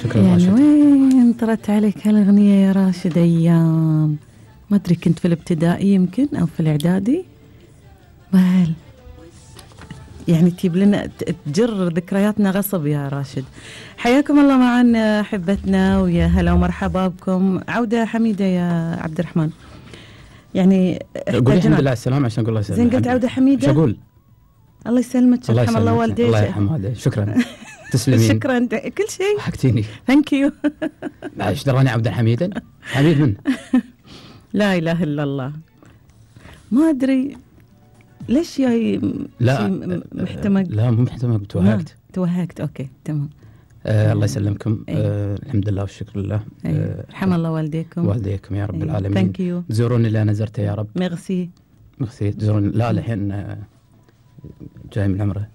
شكرا يعني راشد. وين طرت عليك هالأغنية يا راشد؟ أيام ما أدري كنت في الابتدائي يمكن أو في الإعدادي. وهل يعني تجيب لنا تجر ذكرياتنا غصب يا راشد. حياكم الله معنا أحبتنا، ويا هلا ومرحبا بكم. عودة حميدة يا عبد الرحمن. يعني قولي الحمد لله على السلامة عشان أقول الله يسلمك. زين قلت عودة حميدة. شو أقول؟ الله يسلمك، يرحم الله والديك. الله يرحم والديك. شكرا. تسلمين. شكرا كل شيء. حكتيني. ثانك يو. ايش دراني عبد الحميد؟ حميد من؟ لا إله إلا الله. ما أدري ليش جاي. لا محتمق. لا مو محتمق، توهقت. أوكي تمام. الله يسلمكم. الحمد لله والشكر لله. رحم الله والديكم. والديكم يا رب العالمين. ثانك يو. زوروني اللي أنا زرته يا رب. ميرسي. تزوروني. لا الحين جاي من عمره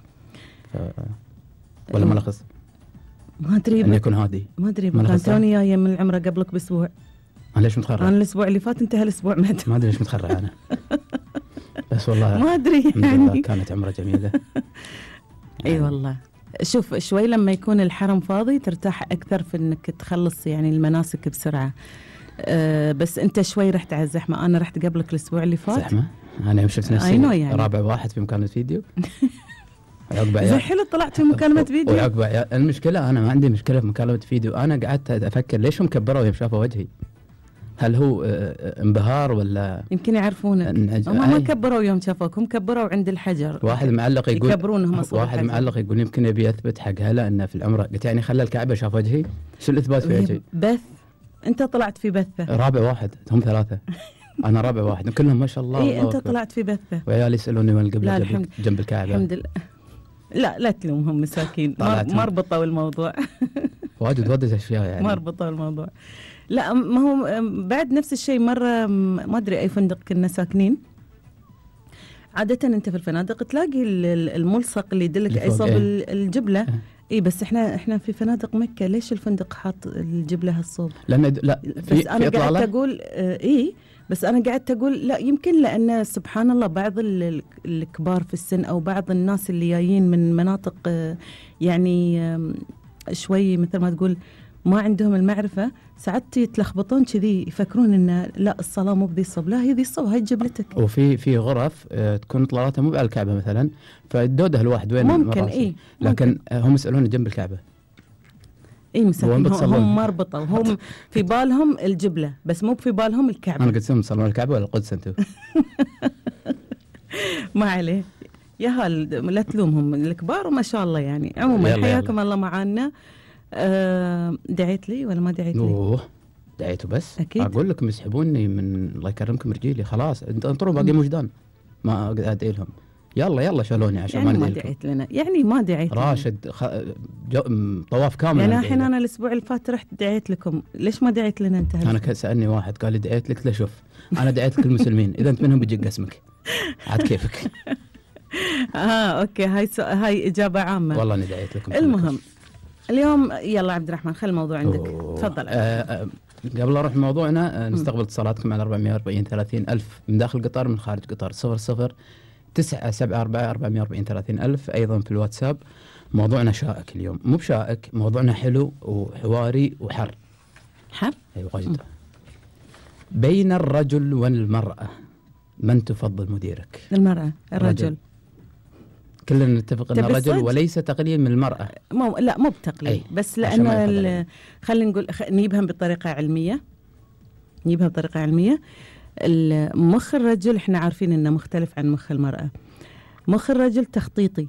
ولا ملخص. ما أدري أن يكون هادي. ما أدري كان توني جاية من العمرة قبلك بأسبوع. أنا ليش متخرع؟ أنا الأسبوع اللي فات، أنت هالأسبوع ما أدري ليش متخرع أنا. بس والله ما أدري يعني. كانت عمرة جميلة. أي والله. شوف شوي لما يكون الحرم فاضي ترتاح أكثر في إنك تخلص يعني المناسك بسرعة. بس أنت شوي رحت على الزحمة. أنا رحت قبلك الأسبوع اللي فات. زحمة؟ أنا يوم شفت نفسي يعني. رابع واحد في مكالمة فيديو. زي حلو طلعت في مكالمة فيديو. وعقب المشكلة أنا ما عندي مشكلة في مكالمة فيديو. أنا قعدت أفكر ليش هم كبروا يوم شافوا وجهي؟ هل هو انبهار ولا يمكن يعرفونك؟ هم ما كبروا يوم شافوك، هم كبروا عند الحجر. واحد معلق يقول يكبرونهم. واحد معلق يقول يمكن يبي يثبت حق هلا انه في العمره. قلت يعني خلى الكعبه شاف وجهي؟ شو الاثبات في وجهي؟ بث. انت طلعت في بثه. رابع واحد، هم ثلاثه. انا رابع واحد كلهم ما شاء الله. اي انت طلعت في بثه. وعيالي يسالوني وين القبله جنب الكعبه. الحمد لله. لا تلومهم مساكين. ما ربطوا الموضوع. واجد اشياء يعني ما ربطوا الموضوع. لا ما هو بعد نفس الشيء. مرة ما أدري أي فندق كنا ساكنين. عادة أنت في الفنادق تلاقي الملصق اللي يدلك أي صوب الجبلة. إيه بس إحنا في فنادق مكة. ليش الفندق حاط الجبلة هالصوب؟ لأن لا بس أنا قاعدة أقول إيه. بس أنا قاعدة أقول لا يمكن لأن سبحان الله بعض الكبار في السن أو بعض الناس اللي جايين من مناطق يعني شوي مثل ما تقول ما عندهم المعرفة، ساعات يتلخبطون كذي يفكرون إن لا الصلاة مو بذي الصوب. لا هي ذي الصوب، هاي جبلتك. وفي غرف تكون طلالاتها مو على الكعبة مثلا، فالدودة الواحد وين ممكن إيه لكن هم يسألون جنب الكعبة. إيه مساكين هم ما ربطوا. هم في بالهم الجبلة بس مو في بالهم الكعبة. أنا قلت لهم تصلون الكعبة ولا القدس أنتم؟ ما عليه يا هال لا تلومهم الكبار وما شاء الله يعني. عموما حياكم الله معانا. دعيت لي ولا ما دعيت لي؟ دعيته بس أكيد. أقول لكم يسحبوني من الله يكرمكم رجيلي. خلاص انطروا باقي وجدان ما أدعي لهم. يلا شالوني عشان يعني ما دعيت لنا. يعني ما دعيت راشد طواف كامل. يعني الحين أنا الأسبوع اللي فات رحت دعيت لكم. ليش ما دعيت لنا أنت؟ أنا سألني واحد قال لي دعيت لك. لا شوف أنا دعيت لك المسلمين. إذا أنت منهم بيجيك اسمك عاد كيفك. أوكي هاي إجابة عامة. والله أنا دعيت لكم. المهم اليوم يلا عبد الرحمن خل الموضوع عندك. تفضل. قبل أروح موضوعنا نستقبل اتصالاتكم على 440 ألف من داخل قطر من خارج قطر. 00-974-440-30 أيضا في الواتساب. موضوعنا شائك اليوم. مو بشائك، موضوعنا حلو وحواري وحر. حر؟ أيوة واجد. بين الرجل والمرأة من تفضل مديرك؟ المرأة. الرجل. كلنا نتفق أن الرجل وليس تقليل من المرأة. لا مو بتقليل بس لأن خلينا نقول نجيبها بطريقة علمية. مخ الرجل احنا عارفين انه مختلف عن مخ المرأة. مخ الرجل تخطيطي،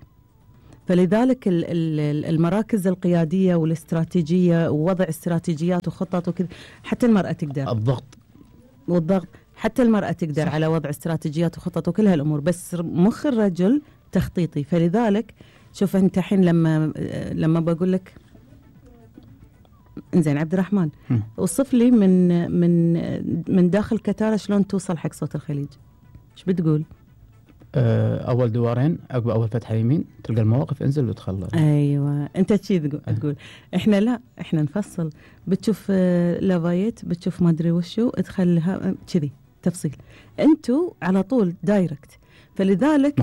فلذلك المراكز القيادية والاستراتيجية ووضع استراتيجيات وخطط وكذا حتى المرأة تقدر. والضغط حتى المرأة تقدر على وضع استراتيجيات وخطط وكل هالأمور. بس مخ الرجل تخطيطي. فلذلك شوف انت الحين لما بقول لك انزين عبد الرحمن وصف لي من داخل كتارة شلون توصل حق صوت الخليج، ايش بتقول؟ اول دوارين عقب اول فتحه يمين تلقى المواقف انزل وتخلى. ايوه انت شي تقول. احنا لا احنا نفصل. بتشوف لافايت بتشوف ما ادري وشو ادخلها كذي تفصيل. انتو على طول دايركت. فلذلك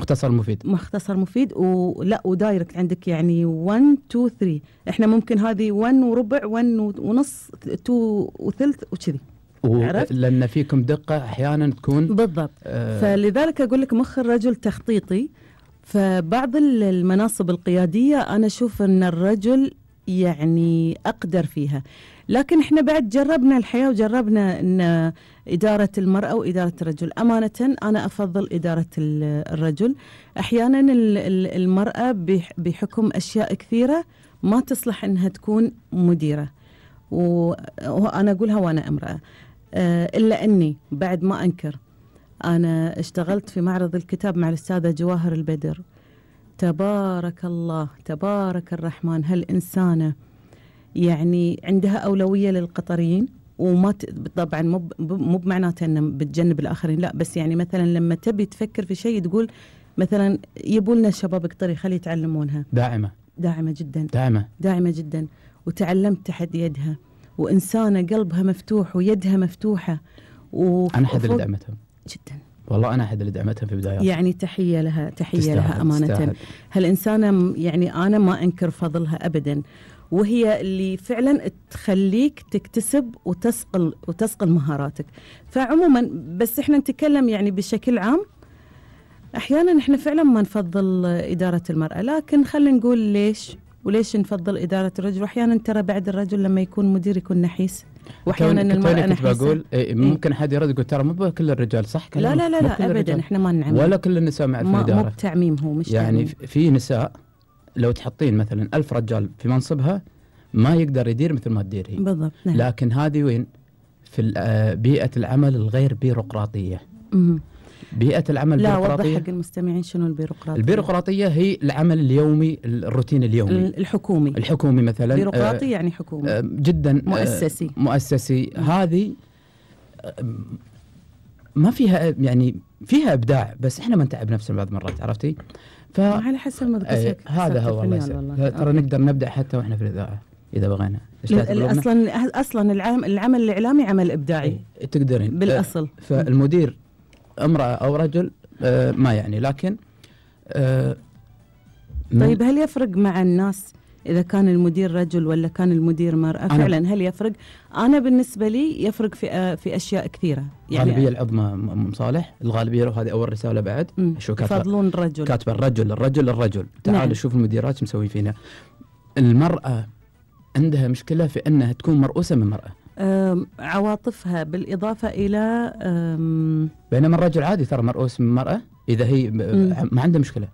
مختصر مفيد ولا ودايركت عندك يعني 1 2 3. احنا ممكن هذه 1 وربع 1 ونص 2 وثلث وكذي. لأن فيكم دقة أحيانا تكون بالضبط. فلذلك أقول لك مخ الرجل تخطيطي. فبعض المناصب القيادية أنا أشوف أن الرجل يعني أقدر فيها، لكن إحنا بعد جربنا الحياة وجربنا أن إدارة المرأة وإدارة الرجل. أمانة أنا أفضل إدارة الرجل. أحيانا المرأة بحكم أشياء كثيرة ما تصلح أنها تكون مديرة، وأنا أقولها وأنا امرأة. إلا أني بعد ما أنكر، أنا اشتغلت في معرض الكتاب مع الأستاذة جواهر البدر. تبارك الله تبارك الرحمن، هالإنسانة يعني عندها أولوية للقطريين، وما طبعا مو بمعناته أن بتجنب الآخرين، لا، بس يعني مثلا لما تبي تفكر في شيء تقول مثلا يبولنا شباب قطري خلي يتعلمونها. داعمة جدا، داعمة جدا، وتعلمت تحت يدها، وإنسانة قلبها مفتوح ويدها مفتوحة. أنا أحد اللي دعمتهم جدا والله، أنا أحد اللي دعمتها في بداياتها. يعني تحية لها، تحية لها أمانة. هالإنسانة يعني أنا ما أنكر فضلها أبدا، وهي اللي فعلا تخليك تكتسب وتسقل مهاراتك. فعموما بس إحنا نتكلم يعني بشكل عام، أحيانا إحنا فعلا ما نفضل إدارة المرأة، لكن خلينا نقول وليش نفضل إدارة الرجل. وأحيانا ترى بعد الرجل لما يكون مدير يكون نحيس، واحيانا المرأة نحيسة. بقول ممكن حد يرد يقول ترى مو كل الرجال صح. لا ابدا، احنا ما نعمم ولا كل النساء مع في الإدارة. مو بتعميم، هو مش يعني تعميم. في نساء لو تحطين مثلا 1000 رجال في منصبها ما يقدر يدير مثل ما تدير هي. بالضبط. نعم. لكن هذه وين؟ في بيئة العمل الغير بيروقراطية. بيئة العمل لا، البيروقراطية. وضح حق المستمعين شنو البيروقراطية. البيروقراطية هي العمل اليومي، الروتين اليومي الحكومي مثلا. بيروقراطي يعني حكومي جدا مؤسسي. هذه ما فيها يعني فيها إبداع، بس إحنا ما نتعب نفسنا بعض مرات، عرفتي؟ على حسب ما هذا هو والله. ترى نقدر نبدأ حتى وإحنا في الإذاعة إذا بغينا. أصلا العمل الإعلامي عمل إبداعي. تقدرين بالأصل. فالمدير امرأة أو رجل ما يعني، لكن طيب هل يفرق مع الناس إذا كان المدير رجل ولا كان المدير مرأة؟ فعلا هل يفرق؟ أنا بالنسبة لي يفرق في أشياء كثيرة. يعني الغالبية العظمى مصالح، الغالبية، وهذه أول رسالة بعد. شو يفضلون الرجل؟ كاتبة الرجل. تعالوا نعم. شوف المديرات شو مسوي فينا. المرأة عندها مشكلة في أنها تكون مرؤوسة من مرأة. عواطفها بالإضافة إلى بينما الرجل عادي ترى مرؤوس من مرأة إذا هي ما عنده مشكلة.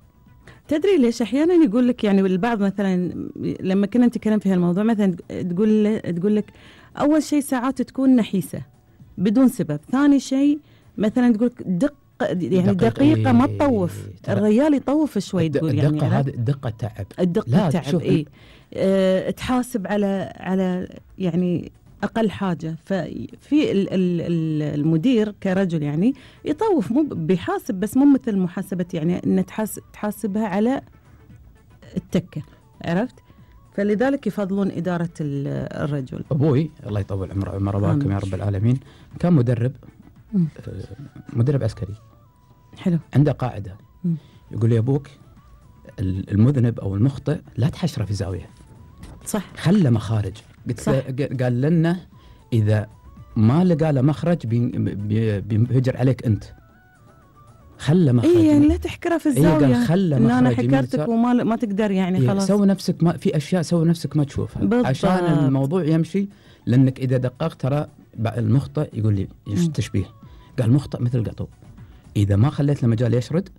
تدري ليش أحيانا يقول لك يعني البعض مثلا لما كنا نتكلم في هالموضوع مثلا تقول لك أول شيء ساعات تكون نحيسة بدون سبب، ثاني شيء مثلا تقول دقيقة ما تطوف. الرجال يطوف شوي. تقول يعني الدقة هذه الدقة تعب. الدقة تعب. تحاسب على يعني أقل حاجة. ففي المدير كرجل يعني يطوف، مو بيحاسب، بس مو مثل محاسبة يعني أن تحاسبها على التكة، عرفت؟ فلذلك يفضلون إدارة الرجل. أبوي الله يطول عمره وعمر أباكم يا رب العالمين كان مدرب عسكري. حلو. عنده قاعدة يقول لي أبوك المذنب أو المخطئ لا تحشره في زاوية. صح. خله مخارج. قال لنا إذا ما لقى له مخرج بينفجر عليك أنت. خله مخرج. يعني لا تحكره في الزاوية. خله مخرج. أنا حكرتك وما تقدر يعني خلاص. سوي نفسك ما في أشياء، سوي نفسك ما تشوفها. بالضبط. عشان الموضوع يمشي. لأنك إذا دققت ترى المخطئ يقول لي تشبيه. قال المخطئ مثل قطو، إذا ما خليت له مجال يشرد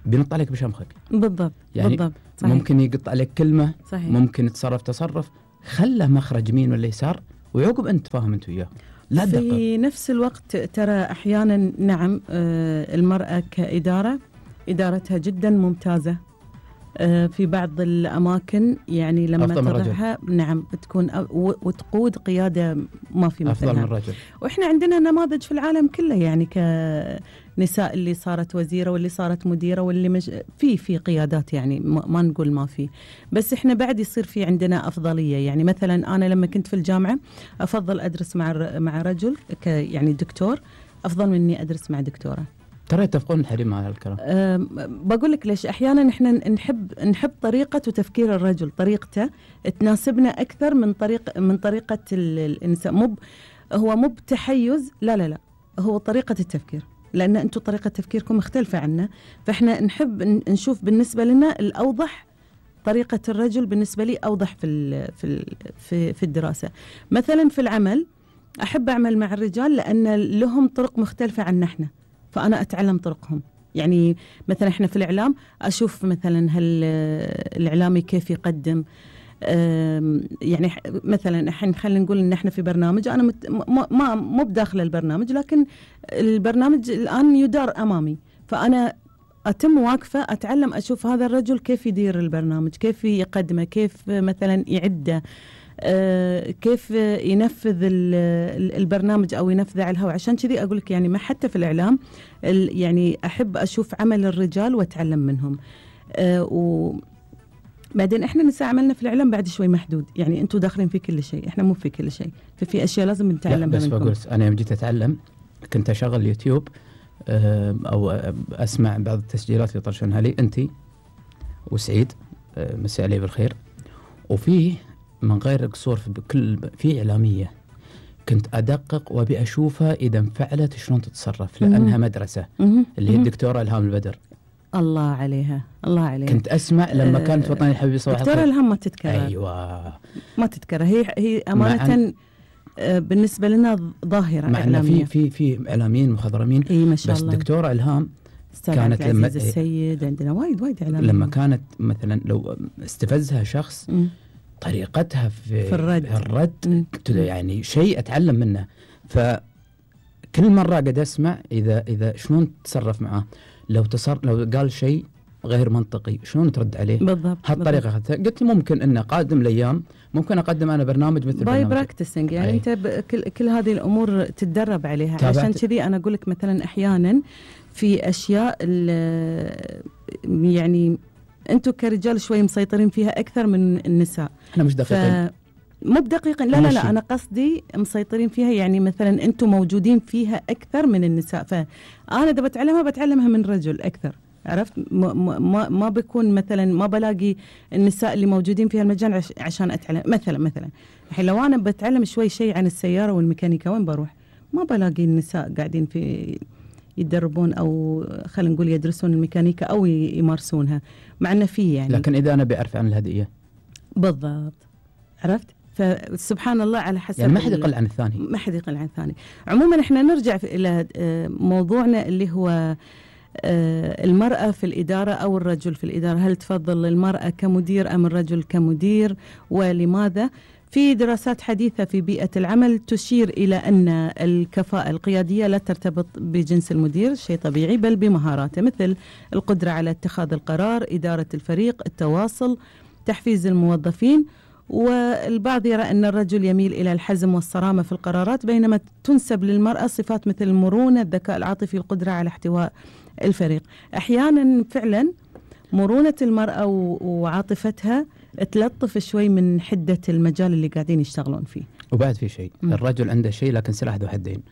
بينط عليك بشمخك. بالضبط. يعني بالضبط. صحيح. ممكن يقط عليك كلمة. صحيح. ممكن يتصرف تصرف. خله مخرج يمين ولا يسار ويعقب أنت فاهم أنت وياه. لا في دقق. نفس الوقت ترى أحيانا نعم المرأة كإدارة إدارتها جدا ممتازة في بعض الأماكن، يعني لما تضعها نعم بتكون وتقود قيادة ما في مثلها. أفضل من الرجل. وإحنا عندنا نماذج في العالم كله يعني كنساء اللي صارت وزيرة واللي صارت مديرة واللي في قيادات، يعني ما نقول ما في، بس إحنا بعد يصير في عندنا أفضلية. يعني مثلا أنا لما كنت في الجامعة أفضل أدرس مع رجل يعني دكتور أفضل من إني أدرس مع دكتورة. ترى يتفقون الحريم مع هذا الكلام. بقول لك ليش احيانا احنا نحب طريقه وتفكير الرجل، طريقته تناسبنا اكثر من طريقه الانسان. هو مو بتحيز، لا هو طريقه التفكير، لان انتم طريقه تفكيركم مختلفه عنا، فاحنا نحب نشوف بالنسبه لنا الاوضح. طريقه الرجل بالنسبه لي اوضح في الدراسه. مثلا في العمل احب اعمل مع الرجال لان لهم طرق مختلفه عنا احنا، فأنا أتعلم طرقهم. يعني مثلا إحنا في الإعلام أشوف مثلا هل الإعلامي كيف يقدم، يعني مثلا الحين خلينا نقول إن إحنا في برنامج، أنا مو بداخل البرنامج، لكن البرنامج الآن يدار أمامي، فأنا أتم واقفة أتعلم، أشوف هذا الرجل كيف يدير البرنامج، كيف يقدمه، كيف مثلا يعده، كيف ينفذ البرنامج أو ينفذه على الهواء. عشان كذي أقول لك يعني ما حتى في الإعلام يعني أحب أشوف عمل الرجال وأتعلم منهم. وبعدين إحنا نساء عملنا في الإعلام بعد شوي محدود، يعني أنتم داخلين في كل شيء، إحنا مو في كل شيء، ففي أشياء لازم نتعلمها منكم. بس بقول أنا يوم جيت أتعلم كنت أشغل يوتيوب أو أسمع بعض التسجيلات اللي طرشنها لي أنتِ وسعيد، مساء عليه بالخير، وفيه من غير قصور في إعلامية كنت أدقق وأبي أشوفها إذا انفعلت شلون تتصرف، لأنها مدرسة اللي هي الدكتورة إلهام البدر. الله عليها، الله عليها. كنت أسمع لما كانت وطني الحبيب صباح الخير. دكتورة إلهام ما تتكرر. أيوة ما تتكرر، هي أمانة بالنسبة لنا ظاهرة مع إعلامية. في إعلاميين مخضرمين. ما شاء بس الله. دكتورة إلهام كانت لما السيد عندنا وايد إعلاميين. لما كانت مثلا لو استفزها شخص طريقتها في الرد يعني شيء أتعلم منه. فكل مرة قد أسمع إذا شلون تتصرف معه، لو قال شيء غير منطقي شلون ترد عليه بالضبط. هالطريقة. قلت ممكن إن قادم الأيام ممكن أقدم أنا برنامج مثل باي براكتسنج، يعني أنت كل هذه الأمور تتدرب عليها. عشان كذي أنا أقول لك مثلا أحيانا في أشياء يعني أنتم كرجال شوي مسيطرين فيها أكثر من النساء. أنا مش دقيقين، مو بدقيقا، لا أنا قصدي مسيطرين فيها، يعني مثلا أنتم موجودين فيها أكثر من النساء، فأنا إذا بتعلمها من رجل أكثر. عرفت؟ ما بيكون مثلا ما بلاقي النساء اللي موجودين في المجال عشان أتعلم. مثلا الحين لو أنا بتعلم شوي شيء عن السيارة والميكانيكا، وين بروح؟ ما بلاقي النساء قاعدين في يتدربون أو خلينا نقول يدرسون الميكانيكا أو يمارسونها، مع أنه فيه يعني. لكن إذا أنا بعرف عن الهدية بالضبط، عرفت؟ فسبحان الله على حسب، يعني ما حد يقل عن الثاني، ما حد يقل عن الثاني. عموما احنا نرجع إلى موضوعنا اللي هو المرأة في الإدارة أو الرجل في الإدارة. هل تفضل المرأة كمدير أم الرجل كمدير، ولماذا؟ في دراسات حديثة في بيئة العمل تشير إلى أن الكفاءة القيادية لا ترتبط بجنس المدير، شيء طبيعي، بل بمهاراته، مثل القدرة على اتخاذ القرار، إدارة الفريق، التواصل، تحفيز الموظفين. والبعض يرى أن الرجل يميل إلى الحزم والصرامة في القرارات، بينما تنسب للمرأة صفات مثل المرونة، الذكاء العاطفي، القدرة على احتواء الفريق. أحيانا فعلا مرونة المرأة وعاطفتها تلطف شوي من حدة المجال اللي قاعدين يشتغلون فيه. وبعد في شيء، الرجل عنده شيء لكن سلاح ذو حدين.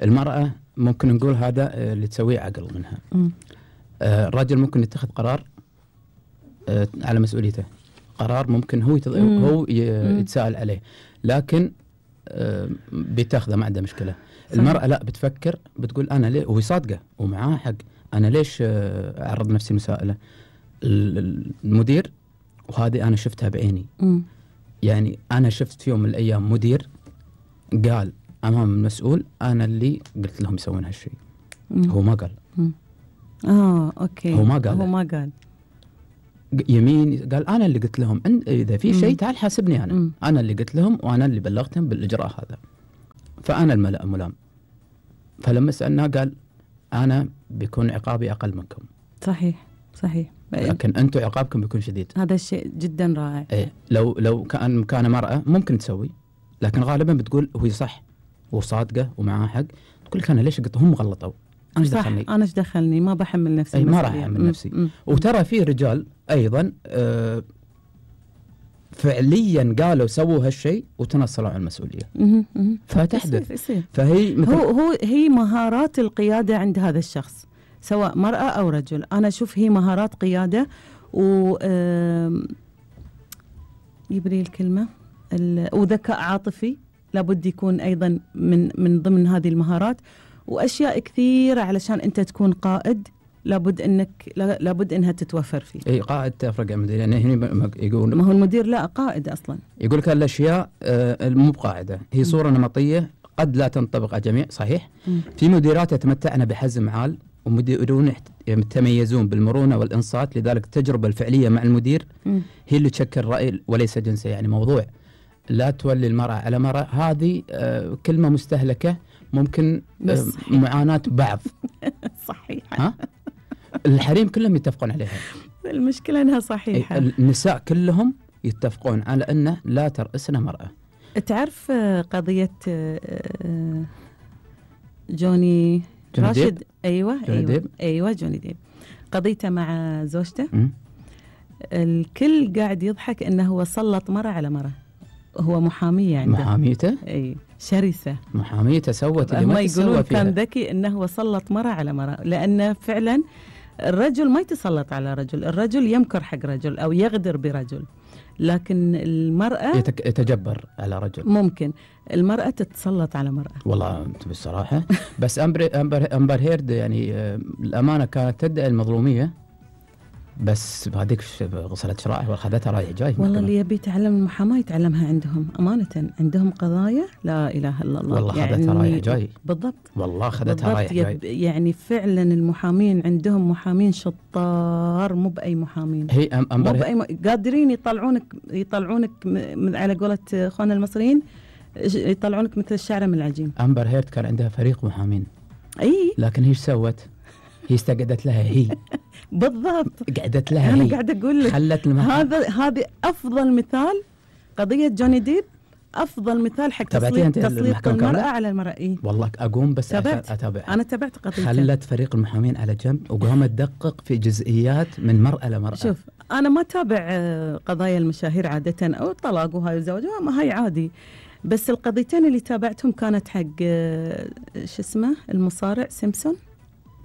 المرأة ممكن نقول هذا اللي تسويه عقل منها. الرجل ممكن يتخذ قرار على مسؤوليته، قرار ممكن هو يتساءل عليه، لكن بتاخذه ما عنده مشكلة. المرأة لا، بتفكر، بتقول أنا ليه، وهي صادقة ومعاه حق، أنا ليش أعرض نفسي مسائلة. المدير، وهذه أنا شفتها بعيني، يعني أنا شفت في يوم من الأيام مدير قال أمام المسؤول أنا اللي قلت لهم يسوون هالشيء. هو ما قال. أوكي. هو ما قال يمين، قال أنا اللي قلت لهم إذا في شيء تعال حاسبني أنا اللي قلت لهم وأنا اللي بلغتهم بالإجراء هذا، فأنا الملام. فلما سألناه قال أنا بيكون عقابي أقل منكم. صحيح لكن أنتم عقابكم بيكون شديد. هذا الشيء جدا رائع. لو كان مرأة ممكن تسوي، لكن غالبا بتقول هو صح وصادقة ومعاه حق، تقول لك أنا ليش قلت هم غلطوا، أنا إيش دخلني ما بحمل نفسي. ما راح أحمل نفسي. وترى في رجال أيضا فعليا قالوا سووا هالشيء وتنصلوا عن المسؤولية. فتحدث. يصير. فهي هي مهارات القيادة عند هذا الشخص، سواء مرأة أو رجل. أنا أشوف هي مهارات قيادة و يبري الكلمة وذكاء عاطفي لابد يكون أيضا من ضمن هذه المهارات، وأشياء كثيرة علشان أنت تكون قائد لابد انها تتوفر فيه. اي قائد تفرق المدير، يعني هنا يقول ما هو المدير لا قائد اصلا. يقول لك الاشياء مو بقاعده، هي صوره نمطيه قد لا تنطبق على الجميع، صحيح. في مديرات يتمتعن بحزم عال، ومديرون يتميزون بالمرونه والانصات، لذلك التجربه الفعليه مع المدير هي اللي تشكل راي وليس جنسه. يعني موضوع لا تولي المراه على مراه، هذه كلمه مستهلكه، ممكن معاناه بعض. صحيح. ها؟ الحريم كلهم يتفقون عليها. المشكلة أنها صحيحة. النساء كلهم يتفقون على أنه لا ترأسنا مرأة. تعرف قضية جوني راشد ديب؟ أيوة جوني ديب، قضيته مع زوجته. الكل قاعد يضحك أنه هو سلط مرة على مرة. هو محامية عنده، محاميته أي شرسة، محاميته سوت اللي ما يقولون كان ذكي أنه هو سلط مرة على مرة، لأنه فعلا الرجل ما يتسلط على رجل، الرجل يمكر حق رجل أو يغدر برجل، لكن المرأة يتجبر على رجل. ممكن المرأة تتسلط على مرأة. والله بالصراحة بس أمبر هيرد يعني الأمانة كانت تدعي المظلومية، بس هذيك غسلت شرائح واخذتها رايح جاي. والله اللي يبي يتعلم المحاماة يتعلمها عندهم، أمانة عندهم قضايا لا إله إلا الله. والله خذتها يعني رايح جاي. بالضبط. والله خذتها رايح جاي. يعني فعلا المحامين عندهم محامين شطار، مو بأي محامين. هي قادرين يطلعونك على قولة اخواننا المصريين، يطلعونك مثل الشعرة من العجين. أمبر هيرد كان عندها فريق محامين. أي. لكن هي سوت؟ هي استقعدت لها هي. بالضبط. قعدت لها أنا هي. قاعدة أقول لك هذه أفضل مثال. قضية جوني ديب أفضل مثال حق تسليط المرأة على المرأة. إيه؟ والله أقوم بس أتابعها. أنا تابعت قضية. خلت فريق المحامين على جنب وقامت تدقق في جزئيات من مرأة لمرأة. شوف أنا ما تابع قضايا المشاهير عادة، أو الطلاق وهاي الزواج، ما هاي عادي، بس القضيتين اللي تابعتهم كانت حق شو اسمه المصارع سيمسون.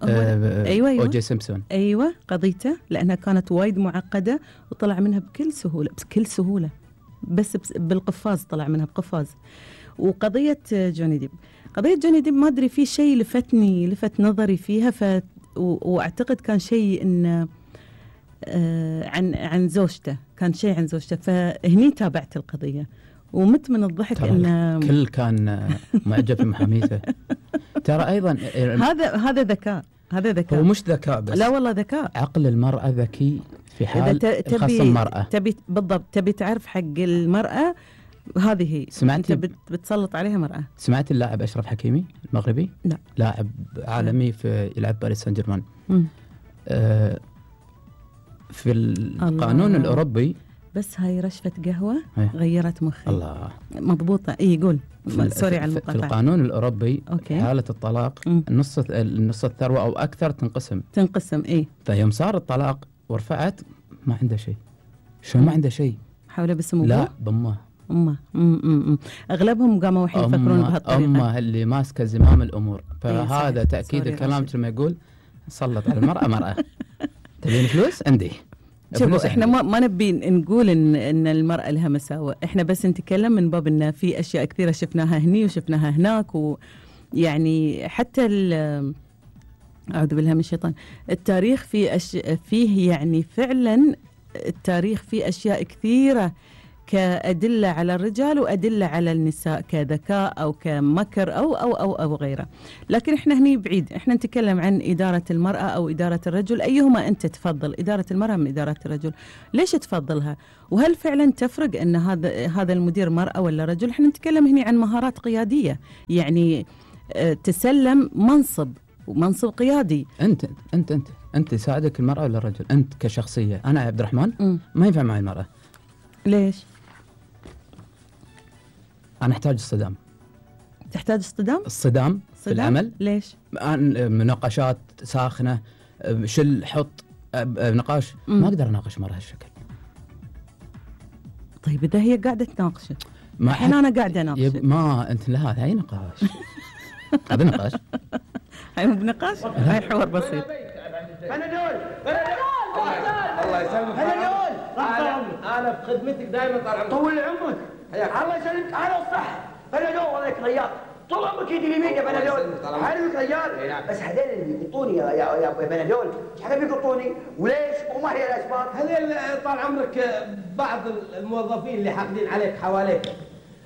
أيوة أوجي سيمسون. أيوة قضيته، لأنها كانت وايد معقدة وطلع منها بكل سهولة، بس بالقفاز طلع منها بقفاز. وقضية جوني ديب ما أدري، في شيء لفت نظري فيها، وأعتقد كان شيء إن عن زوجته، كان شيء عن زوجته، فهني تابعت القضية ومت من الضحك. إن الكل كان معجب بمحاميته. ترى أيضا هذا ذكاء. هو مش ذكاء بس، لا والله ذكاء. عقل المرأة ذكي في حال خاص المرأة. بالضبط تبي تعرف حق المرأة هذه هي. سمعتي بتسلط عليها مرأة. سمعت اللاعب أشرف حكيمي المغربي؟ لا. لاعب عالمي يلعب باريس سان جيرمان. في القانون الأوروبي، بس هاي رشفة قهوة غيرت مخي. الله مضبوطة. يقول سوري على المقاطعة. في القانون الأوروبي حالة الطلاق النص الثروة أو أكثر تنقسم. إيه. فيوم صار الطلاق ورفعت ما عنده شيء. شو ما عنده شيء؟ حوله بس أمه؟ لا بأمه. أغلبهم قاموا الحين يفكرون بهالطريقة. أمه اللي ماسكة زمام الأمور. فهذا تأكيد الكلام لما يقول سلط على المرأة مرأة. تبين فلوس؟ عندي. شوفوا احنا ما نبي نقول ان المرأة لها مساوئ، احنا بس نتكلم من باب ان في اشياء كثيرة شفناها هني وشفناها هناك، ويعني حتى اعوذ بالله من الشيطان، التاريخ فيه يعني فعلا التاريخ فيه اشياء كثيرة كأدلة على الرجال وأدلة على النساء، كذكاء أو كمكر أو غيره. لكن إحنا هني بعيد، إحنا نتكلم عن إدارة المرأة أو إدارة الرجل، أيهما أنت تفضل، إدارة المرأة من إدارة الرجل؟ ليش تفضلها؟ وهل فعلا تفرق أن هذا المدير مرأة ولا رجل؟ إحنا نتكلم هني عن مهارات قيادية، يعني تسلم منصب قيادي. أنت يساعدك المرأة ولا الرجل؟ أنت كشخصية. أنا عبد الرحمن ما ينفع معي المرأة. ليش؟ أنا أحتاج الصدام. تحتاج الصدام في العمل. ليش؟ مناقشات ساخنة، حط نقاش. ما أقدر أناقش مرة هالشكل. طيب إذا هي قاعدة تناقش الحين أنا قاعدة أناقش. ما أنت لا، هاي نقاش. هذا نقاش. هاي مو بنقاش، هاي حوار بسيط. بنادول الله يسلمك. بنادول انا بخدمتك دائما طال عمرك. طول عمرك. الله يسلمك على الصحة. بنادول والله يك رياض. طول عمرك يدي اليمين يا بنادول. حلوك رجال. بس هذول اللي يقطوني يا بنادول، ايش حق بيقطوني؟ وليش؟ وما هي الاسباب؟ هذول طال عمرك بعض الموظفين اللي حاقدين عليك حواليك.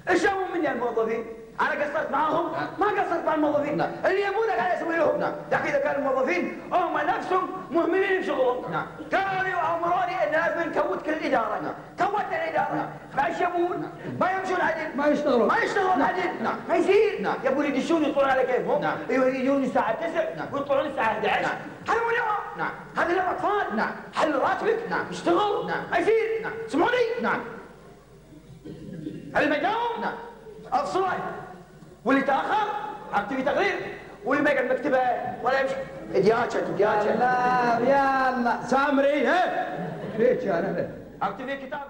ايش يبون مني الموظفين؟ انا قصرت معاهم؟ ما قصرت مع الموظفين. اللي يبونك انا اسوي لهم. لكن اذا كانوا الموظفين هم نفسهم مهملين بشغلهم. كانوا يامروني ان لازم نكوت كل الاداره. كوتنا الاداره. ما ايش يبون؟ ما يمشون عدل. ما يشتغلون عدل. ما يصير. يبون يدشون يطلعون على كيفهم. يجون الساعه 9 ويطلعون الساعه 11. هذا مو نظام. هذا نظام اطفال. حل راتبك. اشتغل. ما يصير. سمعوني. اللي ما يداوم افصله، واللي تاخر اكتبي تقرير، واللي ما يقعد مكتبه ولا يمشي ادياتش. لا يلا سامري. ها فيك انا اكتبي كتاب